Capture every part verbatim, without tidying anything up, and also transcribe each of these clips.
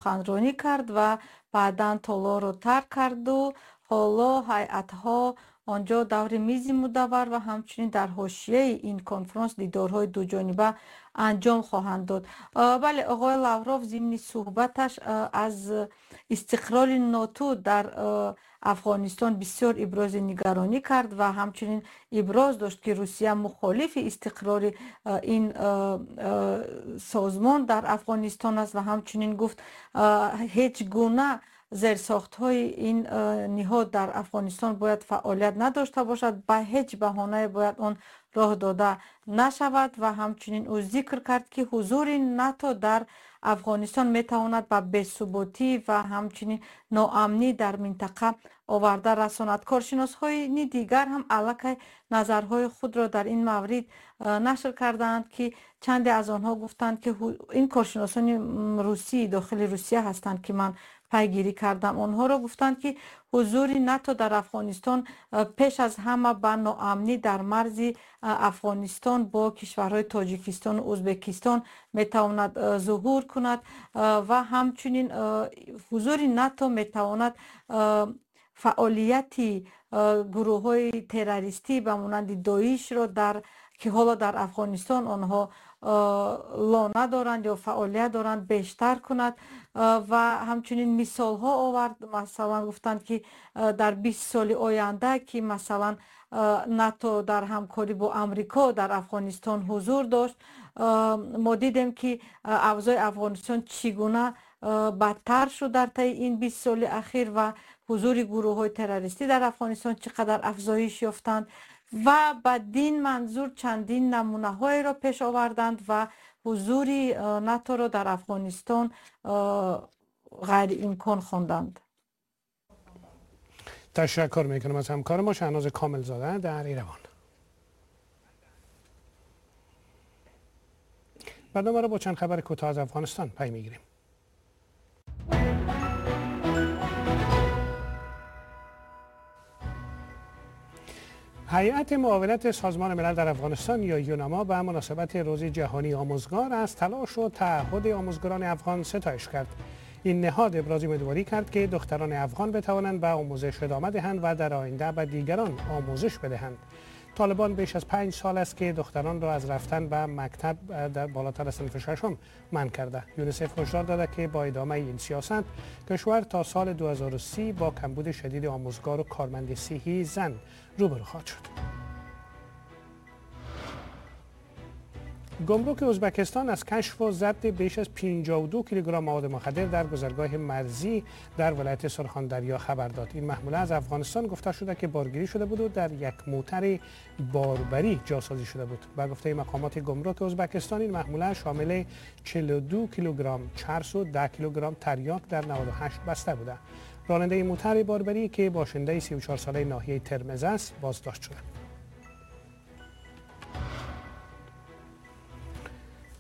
سخنرانی کرد و بعدا تالار رو ترک کرد و حالا هیئت‌ها آنجا دور میز مدور و همچنین در حاشیه این کنفرانس دیدارهای دو جانبه انجام خواهند داد. بله، آقای لاوروف ضمن صحبتش از استقرار ناتو در افغانستان بسیار ابراز نگرانی کرد و همچنین ابراز داشت که روسیه مخالف استقرار این سازمان در افغانستان است و همچنین گفت هیچ گونه زیرساخت‌های این نهاد در افغانستان باید فعالیت نداشته باشد، به هیچ بهانه باید آن راه داده نشود و همچنین او ذکر کرد که حضور ناتو در افغانستان میتواند به بی‌ثباتی و همچنین ناامنی در منطقه آورده رساند. کارشناس‌های دیگر هم علیه نظرهای خود را در این مورد نشر کردند که چندی از آنها گفتند که این کارشناسان روسی داخل روسیه هستند که من پیگیری کردم، آنها را گفتند که حضور ناتو در افغانستان پیش از همه به ناامنی در مرز افغانستان با کشورهای تاجیکستان و ازبکستان میتواند ظهور کند و همچنین حضور ناتو میتواند فعالیت گروه های تروریستی به مانند داعش را در که حالا در افغانستان آنها لانه دارند یا فعالیت دارند بیشتر کند و همچنین مثال ها آورد. مثلا گفتند که در بیست سال آینده که مثلا ناتو در همکاری با امریکا در افغانستان حضور داشت، ما دیدیم که اوضاع افغانستان چگونه بدتر شد در طی این بیست سال اخیر و حضور گروه های تروریستی در افغانستان چقدر افزایش یافتند و بدین منظور چندین نمونه های را پیش آوردند و حضور ناتو را در افغانستان غیر امکان خواندند. تشکر میکنم از همکار ما شهناز کامل زاده در ایروان. برنامه را با چند خبر کوتاه از افغانستان پی میگیریم. هیئت معاونت سازمان ملل در افغانستان یا یوناما به مناسبت روز جهانی آموزگار از تلاش و تعهد آموزگاران افغان ستایش کرد. این نهاد ابراز امیدواری کرد که دختران افغان بتوانند به آموزش ادامه دهند و در آینده به دیگران آموزش بدهند. طالبان بیش از پنج سال است که دختران را از رفتن به مکتب در بالاتر از صنف ششم منع کرده. یونیسف هشدار داده که با ادامه این سیاست کشور تا سال دو هزار و سی با کمبود شدید آموزگار و کارمند صحی زن روبرو خواهد شد. گمرک ازبکستان از کشف و ضبط بیش از پنجاه و دو کیلوگرم مواد مخدر در گذرگاه مرزی در ولایت سرخاندریا خبر داد. این محموله از افغانستان گفته شده که بارگیری شده بود و در یک موتر باربری جاسازی شده بود. به گفته مقامات گمرک ازبکستان این محموله شامل چهل و دو کیلوگرم چرس و ده کیلوگرم تریاک در نود و هشت بسته بوده. راننده موتر باربری که باشنده سی و چهار ساله ناحیه ترمز است بازداشت شده.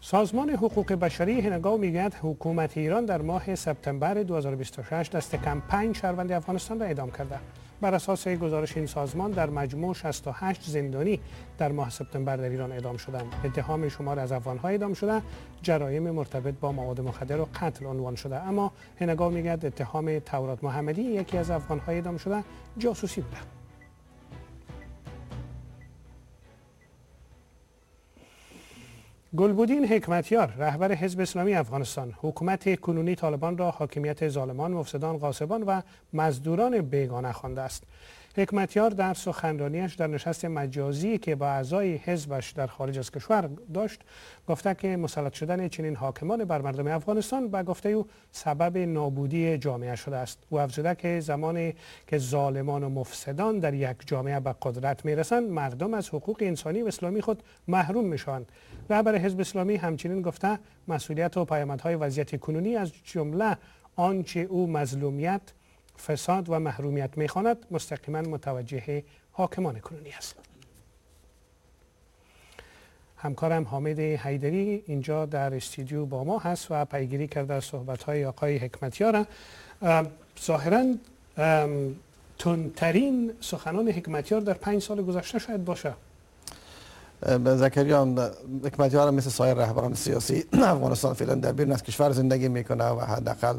سازمان حقوق بشری هنگاو میگوید حکومت ایران در ماه سپتامبر دو هزار و بیست و شش دست کم پنج شهروند افغانستان را اعدام کرده. بر اساس گزارش این سازمان در مجموع شصت و هشت زندانی در ماه سپتامبر در ایران اعدام شدند. اتهام شمار از افغان‌ها اعدام شده جرایم مرتبط با مواد مخدر و قتل عنوان شده، اما هنگاو میگوید اتهام تورات محمدی یکی از افغان‌های اعدام شده جاسوسی بوده. گلبودین حکمتیار رهبر حزب اسلامی افغانستان حکومت کنونی طالبان را حاکمیت ظالمان، مفسدان، غاصبان و مزدوران بیگانه خوانده است. حکمتیار در سخنرانیش در نشست مجازی که با اعضای حزبش در خارج از کشور داشت گفته که مسلط شدن چنین حاکمان بر مردم افغانستان به گفته او سبب نابودی جامعه شده است. او افزوده که زمانی که ظالمان و مفسدان در یک جامعه به قدرت میرسند مردم از حقوق انسانی و اسلامی خود محروم میشوند. رهبر حزب اسلامی همچنین گفته مسئولیت و پیامدهای وضعیت کنونی از جمله آنچه او مظلومیت، فساد و محرومیت میخواند مستقیما متوجه حاکمان کنونی است. همکارم حامد حیدری اینجا در استودیو با ما هست و پیگیری کرده از صحبت‌های آقای حکمتیار. ظاهراً تندترین سخنان حکمتیار در پنج سال گذشته شاید باشه. زکریا، حکمتیار مثل سایر رهبران سیاسی افغانستان فعلا در بیرون از کشور زندگی میکنه و حداقل